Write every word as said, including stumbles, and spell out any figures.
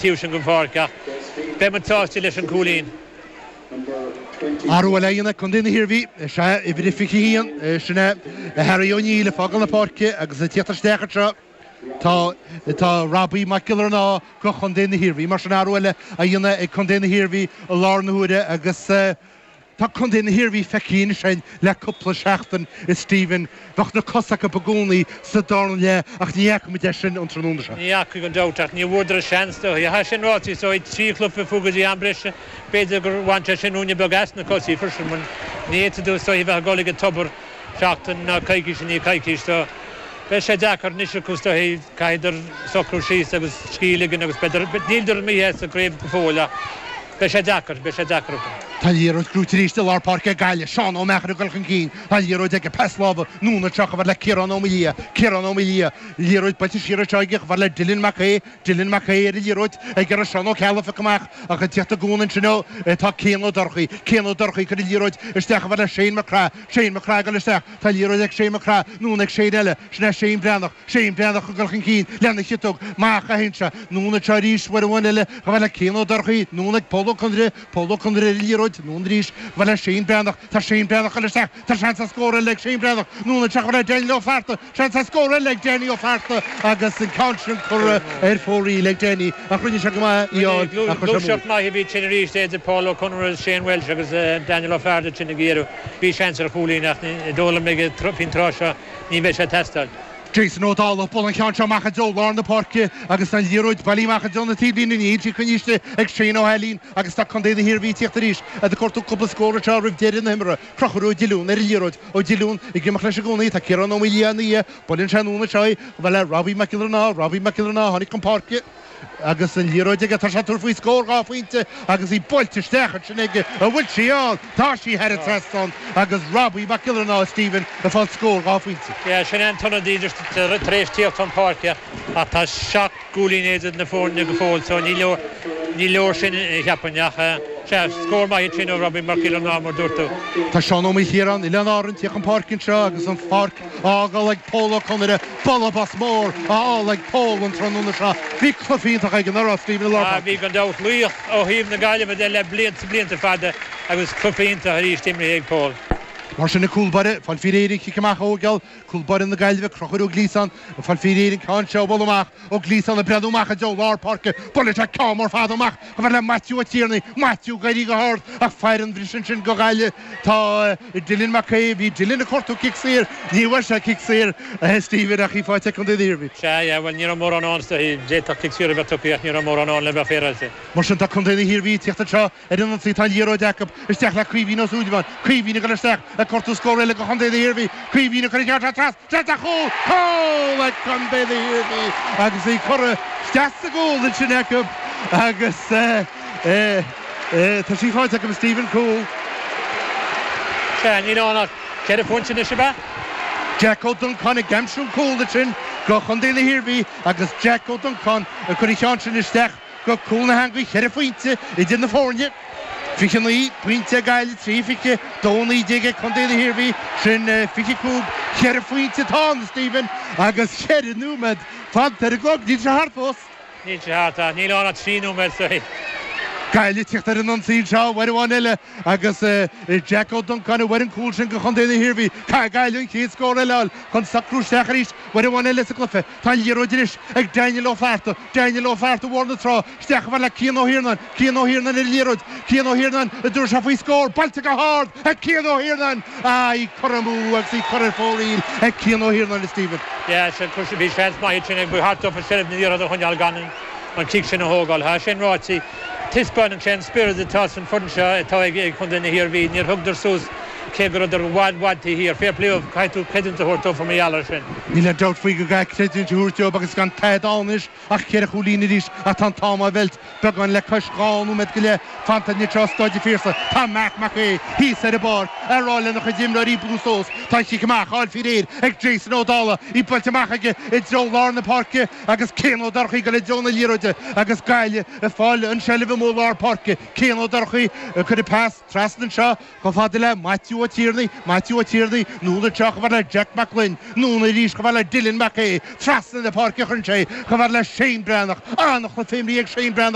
Taobh sin den pháirc ach beidh muid sásta leis an cúilín. Athrú eile á dhéanamh ag Contae na hIarmhí, is ea uimhir a fiche haon, sin é Harry O'Neill ag fágáil na páirce agus ag tíocht isteach anseo tá tá Robbie Mac Giollarnáth go Chontae na hIarmhí. Mar sin athrú eile á dhéanamh ag Contae na hIarmhí i láthair na huaire agus tá Contae na hIarmhí feicthe ansin le cúpla seachtain a Stephen. Bheadh na cosa acu i gcónaí sa darna leath ach ní fhaca muid é sin an tráthnóna seo. Ní fhaca gan dabht ach ní bhfuaireadar a seans dó. Tá sin ráite so trí chluiche fúthu go dtí am breise b'fhéidir gur bhain sé sin ruainne beag as na cosaí freisin mar ní fhéadfaidh tú so bheith ag dul ag an tobar seachtain ná coicís i ndiaidh coicís so beidh sé deacair anois acu is dóichí caithfidh socrú síos agus scíth a ligean agus b'fhéidir níleadar imithe as an gcraobh go fóill ach beidh sé deacair, beidh sé deacair acu. Tá an liathróid gnóite arís i lár páirce ag Gaillimh, Seán Ó Meachair ag dul chun cinn, tá an liathróid aige, pas láimhe, anonn anseo chomh fada le Ciarán Ó Maoildhia, Ciarán Ó Maoildhia, liathróid buailte siar anseo aige chomh fada le Dylan Mac Aodha, Dylan Mac Aodha ar an liathróid ag iarraidh Seán Ó Ceallaigh a phiocadh amach ach ag tíocht i gcúnamh ansin dó tá Cian Ó Dorchaí, Cian Ó Dorchaí ag cur an liathróid isteach chomh fada le Shane McGrath, Shane McGrath ag dul isteach, tá an liathróid ag Shane McGrath, anonn ag Shane eile, sin é Shane Breathnach, Shane Breathnach ag dul chun cinn lena chiotóg, amach a théann sé, anonn anseo arís uair amháin eile chomh fada le Cian Ó Dorchaí, anonn ag Pól Ó Conaire, Pól Ó Conaire ar an liathróid, anonn arís chomh fada le Shane Breathnach, tá Shane Breathnach ag dul isteach, tá seans ar scór eile ag Shane Breathnach, anonn anseo chomh fada le Daniel Ó Flatharta, seans ar scór eile ag Danny Ó Flatharta agus an ceann sin curtha ar fóraoil ag Danny ach rinne sé go maith í a fháil ach chuir sé amú. Gluaiseacht maith a bhí ansin arís idir Paul Ó Conaire agus Shane Walsh agus Daniel Ó Flatharta ansin ag iarraidh. Bhí seans ar chúilín ach is dóigh liom ag faoin tráth seo ní bheidh sé ag teastáil. Jason Ó Dálaigh ag bualadh an cheann seo amach i dtreo lár na páirce agus an liathróid bailithe amach i dtreo na taobhlíne. Níl sí coinnithe istigh ag Shane Ó hAilín agus tá contae na hIarmhí ag tíocht arís ag cuartú cúpla scór anseo roimh deireadh na himeartha. Conchúr Ó Diolún ar an liathróid. Ó Diolún ag imeacht leis i gcónaí. Tá Ciarán Ó Maoildhia ina dhiaidh. Buaileann sé anonn anseo í. Chomh fada le Robbie Mac Giollarnáth. Robbie Mac Giollarnáth tháinig chun páirce. Agus an liathróid aige, tá sé ag tabhairt faoi scór dhá phointe agus í buailte isteach ansin aige. An bhfuil sí ann? Tá sí thar an trasnán agus Robbie Mac Giollarnáth, Stephen, ag fáil scór dhá phointe. Yeah, sin é an t-ionadaí just tar éis tíocht chun páirce ach tá seacht gcúilín idir na foirne go fóill so ní leor, ní leor sin cheapfainn ach sea, scór maith ansin ó Robbie Mac Giollarnáth mar dúirt tú. Tá Seán Ó Maoilchiaráin, Oileáin Árann, ag tíocht chun páirce anseo agus an pháirc á fhágáil ag Pól Ó Conaire, bualadh bos mór á fháil ag Pól an tráthnóna seo. Bhí cluiche iontach aige, nach raibh, Stephen, i lár Ah, páirce. bhí gan dabht laoch ó thaobh na Gaillimhe de le blianta blianta fada agus cluiche iontach arís imrithe ag Pól. Mar sin an cúl báire, ag fáil faoi réir an chic amach a thógáil, cúl báire na Gaillimhe, Conchúr Ó Gliasáin, ag fáil faoi réir an ceann seo a bhualadh amach, Ó Gliasáin ag breathnú amach i dtreo lár páirce, buaileann sé ceann mór fada amach chomh fada le Maitiú Ó Tiarnaigh, Maitiú ag éirí go hard ach fear an bhriseadh ansin go Gaillimh. Tá Dylan Mac Aodha, bhí Dylan ag cuartú cic saor, ní bhfuair sé cic saor, a Stephen, ach í faighte ag Contae na hIarmhí. Sea, yeah, bhuel ní raibh mórán ann is dóichí, d'fhéadfadh cic saor a bheith tugtha ach ní raibh mórán ann le bheith féaráilte. Mar sin tá Contae na hIarmhí ag tíocht anseo ar an ionsaí, tá an liathróid acu, isteach le Caoimhín Ó Súilleabháin, Caoimhín ag dul isteach ag cuartú scór eile go Chontae na hIarmhí, Caoimhín ag cur an ceann seo trasna, seans ar chúl, cúl ag Contae na hIarmhí agus í curtha isteach sa gcúl ansin acu agus tá sí faighte acu, Stephen, cúl. Sea, níl ann ach ceithre phointe anois, ab ea? Jack Ó Donnchadha ag aimsiú an cúl ansin go Chontae na hIarmhí agus Jack Ó Donnchadha ag cur an cheann sin isteach go cúl na heangaí, ceithre phointe idir na foirne. fiche naoi pointe ag Gaillimh, trí fiche dó naoi déag ag Contae na hIarmhí, sin fiche cúig, ceithre phointe atá ann, Stephen, agus ceithre nóiméad fanta ar an gclog. Níl sé thart fós. Níl sé thart ach níl ann ach trí nóiméad so. Gaillimh ag tíocht ar an ionsaí anseo uair amháin eile agus Jack Ó Donnchadha a fuair an cúl sin go Chontae na hIarmhí. Caithfidh Gaillimh an chéad scór eile a fháil chun socrú isteach arís uair amháin eile sa gcluiche. Tá an liathróid anois ag Daniel Ó Flatharta. Daniel Ó Flatharta Bhóthar na Trá isteach chomh fada le Cian Ó hIarnáin. Cian Ó Hiarnáin ar an liathróid. Cian Ó Hiarnáin an dtabharfaidh sé faoi scór. Buailte go hard ag Cian Ó Hiarnáin. Ah, í curtha amú agus í curtha ar fóraoil ag Cian Ó Hiarnáin, a Stephen. Yeah, sin cúis bhí seans maith ansin ag ba cheart dófa seilbh na liathróide a choinneáil gan an cic sin a thógáil. Tá sin ráite, taispeánann sé an spiorad atá san foireann seo atá ag ag Contae na hIarmhí. Níor thugadar suas cé go rabhadar i bhfad bhfad taobh thiar. Fair play dóibh, caithfidh tú creidiúint a thabhairt dóibh mar gheall air sin. Níl aon dabht faoi go gcaithfidh creidiúint a thabhairt dóibh agus gan tada ann anois ach ceithre chúilín arís ach tá an t-am á mheilt beagán le cois dhá nóiméad go leith fanta anseo i Staid an Phiarsaigh. Tá Marc Mac Aodha thíos ar an bpáirc ag rá lena chuid imreoirí brú suas. Tá an chic amach á fháil faoi réir ag Jason Ó Dálaigh, í buailte amach aige i dtreo lár na páirce agus Cian Ó Dorchaí ag dul i dtreo na liathróide agus Gaillimh ag fáil an seilbh amuigh i lár páirce. Cian Ó Dorchaí ag cur an pas trasna anseo chomh fada le Maitiú. Matthew Ó Tiarnaigh Matthew Ó Tiarnaigh anonn anseo chomh fada le Jack Mac Gloinn anonn arís chomh fada le Dylan Mac Aodha trasna na páirce chuireann sé chomh fada le Shane Breathnach an-chluiche imeartha ag Shane Breathnach